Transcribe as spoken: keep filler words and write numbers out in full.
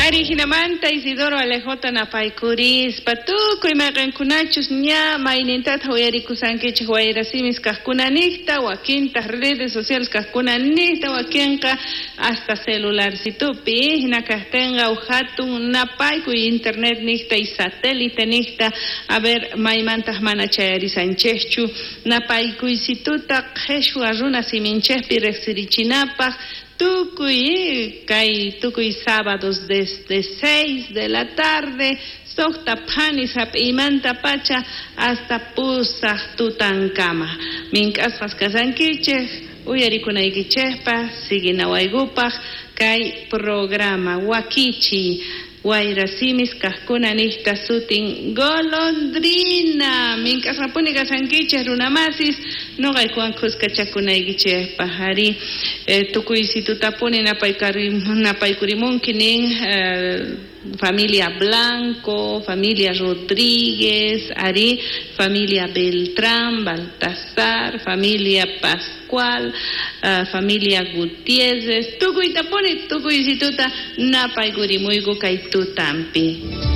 Ari hinamanta Isidoro Alejota napaykurispa tukuy mayqinkunachus ña maynintata uyarikusankichik wayrasimis kaqkuna niqta, wakintaq redes sociales kaqkuna niqta, wakinqa hasta celularcitupi hina kaqtinqa uj hatun napaykuy internet niqta y satélite niqta, a ver maymantaq mana chayarisanchikchu napaykuysituta qhishwa runa siminchikpi riqsirichinapaq tukuy kay tukuy sábados desde seis de la tarde suqta phanis hap'iymanta pacha hasta pusaq tutankama mink'asqas kasankichik uyarikunaykichikpaq siguinawaykupaq kay programa wakichiy wayrasimis kaqkuna niqta sutin golondrina mink'asqapuni kasankichik runamasis noqaykuwan khuskachakunaykichikpaq ari eh, tukuysitutapuni napaykurimunki nin eh, familia Blanco, familia Rodríguez, ari, familia Beltrán, Baltasar, familia Pascual, uh, familia Gutiérrez, tukuytapuni tukuysituta napaykurimuyku kay tutampi.